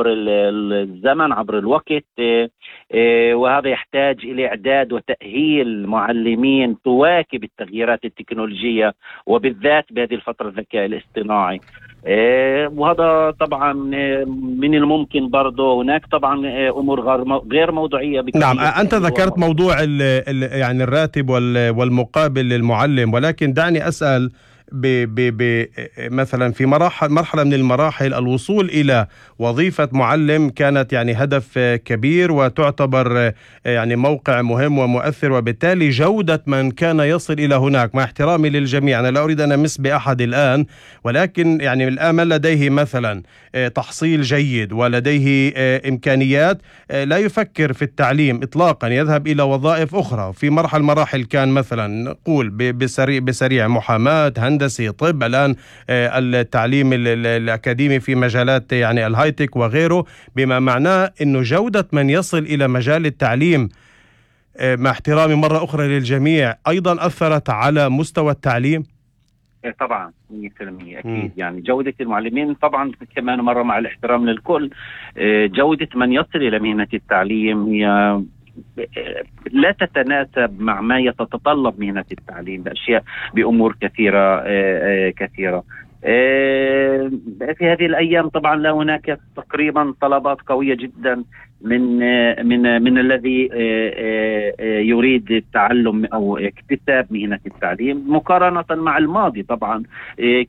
الزمن، عبر الوقت، وهذا يحتاج إلى إعداد وتأهيل معلمين تواكب التغييرات التكنولوجية، وبالذات بهذه الفترة الذكاء الاصطناعي. وهذا طبعا من الممكن برضه. هناك طبعا أمور غير موضوعية. نعم، أنت ذكرت موضوع يعني الراتب والمقابل للمعلم، ولكن دعني أسأل مثلا في مرحلة من المراحل الوصول إلى وظيفة معلم كانت يعني هدف كبير وتعتبر يعني موقع مهم ومؤثر، وبالتالي جودة من كان يصل إلى هناك، مع احترامي للجميع أنا لا أريد أن أمس بأحد الآن، ولكن يعني الآن من لديه مثلا تحصيل جيد ولديه إمكانيات لا يفكر في التعليم إطلاقا، يذهب إلى وظائف أخرى. في مراحل كان مثلا نقول بسريع محاماة، هندسي، طب، الآن التعليم الأكاديمي في مجالات يعني الهايتك وغيره، بما معناه أنه جودة من يصل إلى مجال التعليم مع احترامي مرة أخرى للجميع أيضا أثرت على مستوى التعليم. طبعا 100% أكيد. يعني جودة المعلمين طبعا كمان مرة مع الاحترام للكل، جودة من يصل إلى مهنة التعليم هي لا تتناسب مع ما يتطلب مهنة التعليم بأمور كثيرة. في هذه الأيام طبعا لا هناك تقريبا طلبات قوية جدا من الذي يريد التعلم أو اكتساب مهنة التعليم مقارنة مع الماضي. طبعا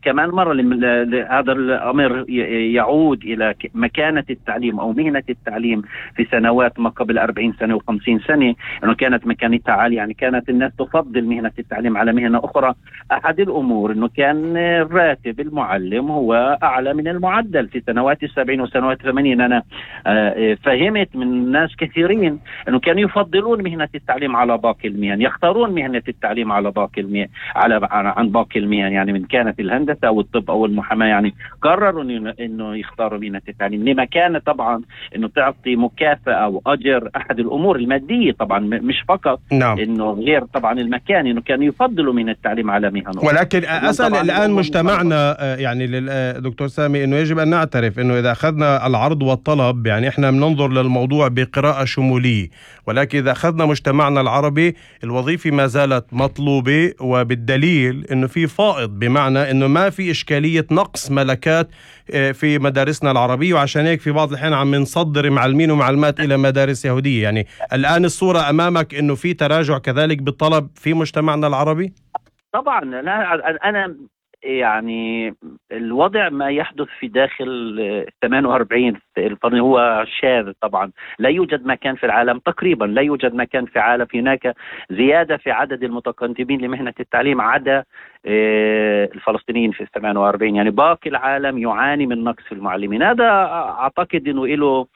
كمان مرة هذا الأمر يعود إلى مكانة التعليم أو مهنة التعليم في سنوات ما قبل 40 سنة و50 سنة، أنه كانت مكانتها عالية. يعني كانت الناس تفضل مهنة التعليم على مهنة أخرى. أحد الأمور أنه كان راتب المعلم هو أعلى من المعدل في سنوات 70 وسنوات 80. أنا فهمت من ناس كثيرين أنه كانوا يفضلون مهنة التعليم على باقي المهن، يختارون مهنة التعليم على باقي المهن عن باقي المهن. يعني من كانت الهندسة أو الطب أو المحاماة، يعني قرروا أنه يختاروا مهنة التعليم لما كان طبعا أنه تعطي مكافأة أو أجر. أحد الأمور المادية طبعا مش فقط. نعم. أنه غير طبعا المكان، أنه كانوا يفضلوا من التعليم على مهن أخرى. ولكن أسأل الآن مجتمعنا يعني دكتور سامي أنه يجب أن نعترف أنه إذا أخذنا العرض والطلب، يعني إحنا بننظر للموضوع بقراءة شمولية، ولكن إذا أخذنا مجتمعنا العربي الوظيفة ما زالت مطلوبة، وبالدليل أنه في فائض، بمعنى أنه ما في إشكالية نقص ملكات في مدارسنا العربية، وعشان هيك في بعض الحين عم نصدر معلمين ومعلمات إلى مدارس يهودية. يعني الآن الصورة أمامك أنه في تراجع كذلك بالطلب في مجتمعنا العربي؟ طبعا لا، أنا يعني الوضع ما يحدث في داخل 48 القرن هو شاذ. طبعا لا يوجد مكان في العالم، تقريبا لا يوجد مكان في العالم هناك زيادة في عدد المتقدمين لمهنة التعليم عدا الفلسطينيين في 48. يعني باقي العالم يعاني من نقص في المعلمين. هذا أعتقد أنه له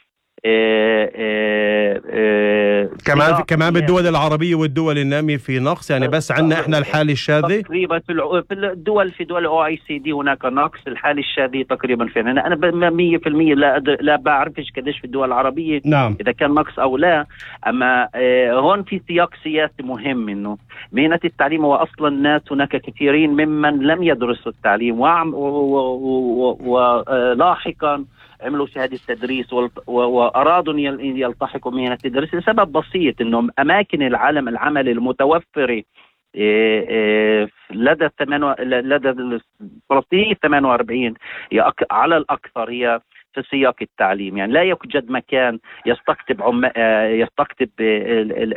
كمان بالدول العربية والدول النامية في نقص، يعني بس عندنا احنا الحالة الشاذة تقريبا في دول OECD هناك نقص. الحالة الشاذة تقريبا فينا. انا 100% لا بعرفش قديش في الدول العربية. نعم. اذا كان نقص او لا. اما هون في سياق سياسي مهم، انه مهنة التعليم هو اصلا الناس هناك كثيرين ممن لم يدرسوا التعليم ولاحقا عملوا شهادة تدريس وأرادوا أن يلتحقوا مهنة التدريس لسبب بسيط، أنه أماكن العمل المتوفرة لدى الفلسطينيين 48 على الأكثر هي في سياق التعليم. يعني لا يوجد مكان يستقطب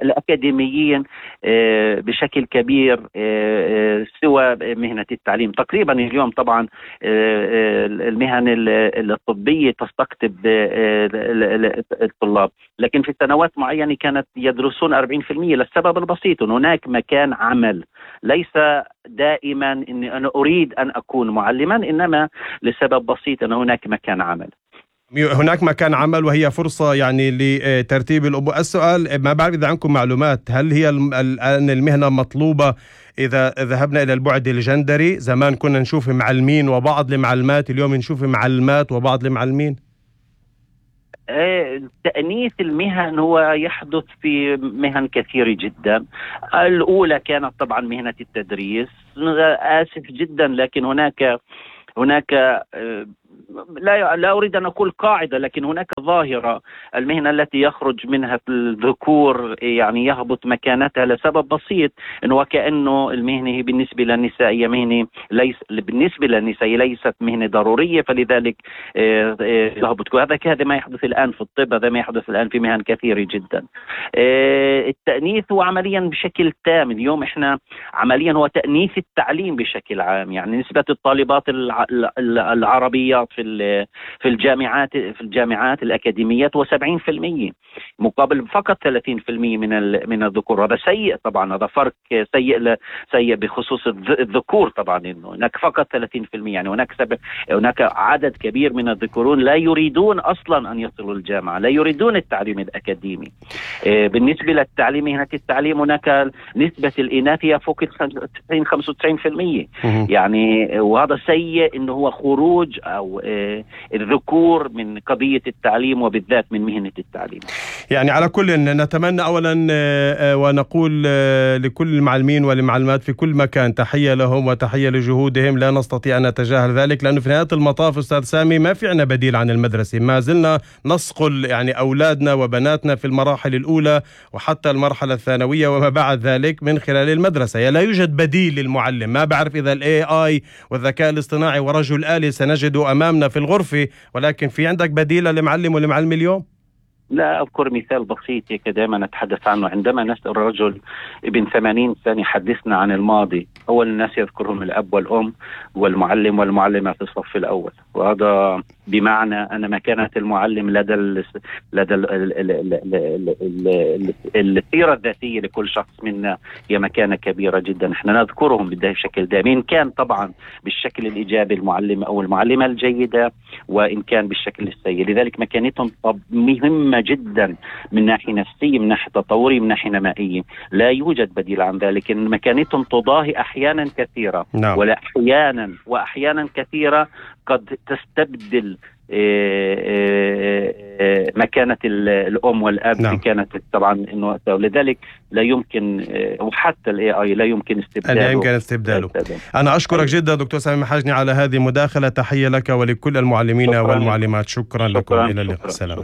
الأكاديميين بشكل كبير سوى مهنة التعليم. تقريبا اليوم طبعا المهن الطبية تستقطب الطلاب، لكن في سنوات معينة كانت يدرسون 40% للسبب البسيط أن هناك مكان عمل. ليس دائما أني أنا أريد أن أكون معلما، إنما لسبب بسيط أن هناك مكان عمل. هناك مكان عمل وهي فرصة يعني لترتيب الأمور. السؤال، ما بعرف إذا عندكم معلومات، هل هي الآن المهنة مطلوبة إذا ذهبنا إلى البعد الجندري؟ زمان كنا نشوف معلمين وبعض المعلمات، اليوم نشوف معلمات وبعض المعلمين. تأنيث المهن هو يحدث في مهن كثيرة جدا. الأولى كانت طبعا مهنة التدريس. آسف جدا، لكن هناك لا أريد أن أقول قاعدة، لكن هناك ظاهرة. المهنة التي يخرج منها الذكور يعني يهبط مكانتها لسبب بسيط، إنه وكأنه المهنة بالنسبة للنساء هي مهنة بالنسبة للنساء ليست مهنة ضرورية، فلذلك يهبط. هذا ما يحدث الآن في الطب، هذا ما يحدث الآن في مهن كثيرة جدا. التأنيث هو عمليا بشكل تام اليوم، إحنا عمليا هو تأنيث التعليم بشكل عام. يعني نسبة الطالبات العربيات في الجامعات الأكاديميات هو 70% مقابل فقط 30% من الذكور. هذا سيء طبعا، هذا فرق سيء بخصوص الذكور طبعا، إنه هناك فقط 30%. يعني هناك عدد كبير من الذكورون لا يريدون أصلا أن يصلوا الجامعة، لا يريدون التعليم الأكاديمي. بالنسبة للتعليم، مهنة التعليم، هناك نسبة الإناث هي فوق 95%. يعني وهذا سيء، إنه هو خروج أو الذكور من قضية التعليم وبالذات من مهنة التعليم. يعني على كل نتمنى أولا ونقول لكل المعلمين والمعلمات في كل مكان تحية لهم وتحية لجهودهم، لا نستطيع أن نتجاهل ذلك، لأنه في نهاية المطاف أستاذ سامي ما في عنا بديل عن المدرسة. ما زلنا نصقل يعني أولادنا وبناتنا في المراحل الأولى وحتى المرحلة الثانوية وما بعد ذلك من خلال المدرسة. لا يوجد بديل للمعلم. ما بعرف إذا AI والذكاء الاصطناعي ورجل آلي سنجده أمامنا في الغرفة، ولكن في عندك بديل لمعلم ولمعلم اليوم؟ لا أذكر مثال بسيط دائما نتحدث عنه. عندما نسأل رجل ابن 80 سنة حدثنا عن الماضي، أول الناس يذكرهم الأب والأم والمعلم والمعلمة في الصف الأول. وهذا بمعنى أن مكانة المعلم لدى السيرة الذاتية لكل شخص منا هي مكانة كبيرة جدا. احنا نذكرهم بشكل دائم، إن كان طبعا بالشكل الإيجابي المعلم أو المعلمة الجيدة، وإن كان بالشكل السيء. لذلك مكانتهم مهمة جدا من ناحية نفسية، من ناحية تطورية، من ناحية نمائية. لا يوجد بديل عن ذلك. إن مكانتهم تضاهي أحيانا كثيرة ولا وأحيانا كثيرة قد تستبدل مكانة الأم والأب. كانت طبعا إنه لذلك لا يمكن، وحتى AI لا يمكن استبداله. أنا أشكرك جدا دكتور سامي محاجني على هذه المداخلة. تحية لك ولكل المعلمين والمعلمات. شكرا لكم. إلى اللقاء. سلام.